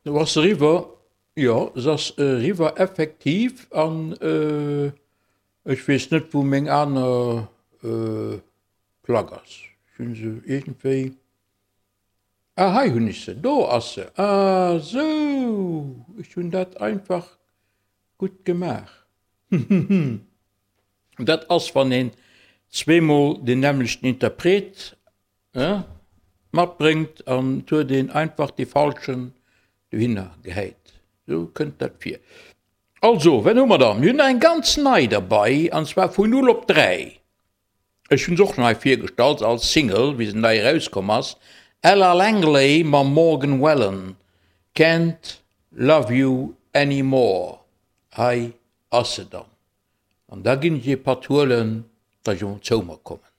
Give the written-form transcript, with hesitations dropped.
Do ass se eriwwer, jo, se ass eriwwer effektiv an ech weess net wou meng aner Plack ass. Ech hunn se iergendwéi, ah hei hunn ech se, do ass se, ah sou, ech hunn dat einfach gutt gemaach. Dat ass wann een zweemol deen nämmlechten Interpret matbréngt an et huet een einfach dee falschen dohinner gehäit. Sou kënnt dat vir. Also, wat hu mer dann? Mir hunn nach eng ganz nei derbei, an zwar vun 0 op 3. Ech hunn se och nei virgestallt als Single, wéi se nei erauskomm ass, Ella Langley mam Morgan Wallen, Can't Love You Anymore. Hei ass se dann. An da ginn ech ee Patt huelen, datt ech emol zou mer kommen.